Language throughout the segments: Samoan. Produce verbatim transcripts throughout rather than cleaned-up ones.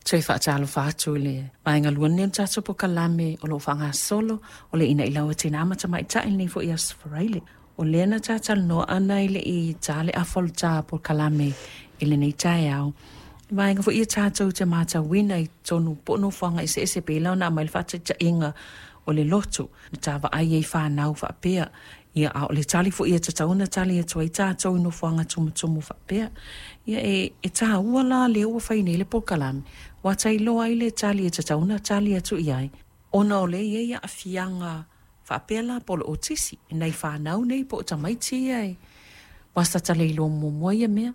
Toe faatalofa atu i le vaega lua lenei o le tatou polokalame o lo o faagasolo o le Ina'i Lau a Tinā ma Tamaitai i lenei foi Aso Faraile. O lea na talatalanoa ana i le i ta le afa o le ta polokalame i lenei taeao. Vaega foi ia tatou te matauina i totonu po o nofoaga eseese pei la ona aumai le faataitaiga o le lotu na ta vaai ai i fanau faapea. Ia, a o le tali foi e tatau ona tali atu ai tatou i nofoaga tumutumu faapea. Ia, e, e taua la lea ua fai nei le polokalame, ua tailoa ai le tali e tatau ona tali atu i ai, ona o lea e i ai aafiaga faapea la po o le otisi i nai fanau nei po o tamaiti ia e ua sa ta le iloa muamua ia mea.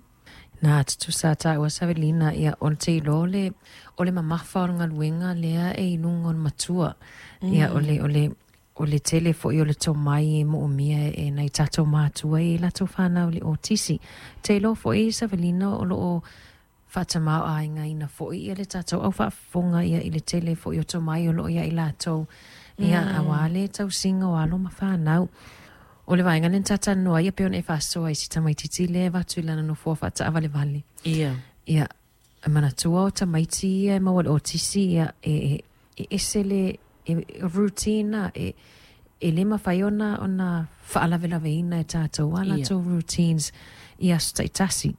Na tutusa taua Savelina, ia o le teiloa le o le mamafa o le galuega lea e i luga o le matua. Ia o le o le o le tele foi o le tomai e moomia e nai tatou matua i latou fanau le otisi. Teiloa foi Savelina o loo faatamao-aigaina foi ia le tatou au faafofoga ia i le tele foi o tomai o loo ia i latou ia auā le tausiga o alo ma fanau. O le vaega lea na talatalanoa ai e pei ona e faasoa i si tamaititi lea e avatu i lana nofoa faataavalevale. Ia. Ia, e manatua o tamaiti ia e maua i le otisi ia e, e, e ese le e, routine a e, e le mafai ona ona faalavelaveina e tatou a Ia. Latou routines i aso taitasi.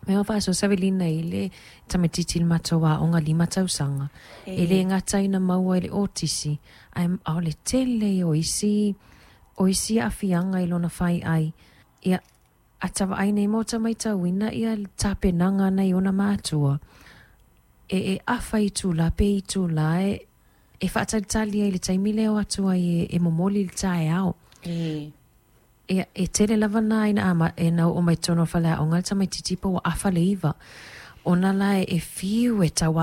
Me o faasoa Savelina i le tamaititi i le matou aoga lima tausaga. E le gata ina maua i le otisi, ae a o le tele o isi o isi aafiaga i lona faiai. Ia, a ta vaai nei ma ota maitauina ia le tapenaga nai ona matua. E, e afa itulā pe itulā e, e faatalitali ai i le taimi lea o atu ai e, e momoli le taeao. E. Ia, e tele lava na ina ama, e na oo mai totonu o le faleaoga le tamaititi pa ua afa le iva. Ona la e, e fiu e tau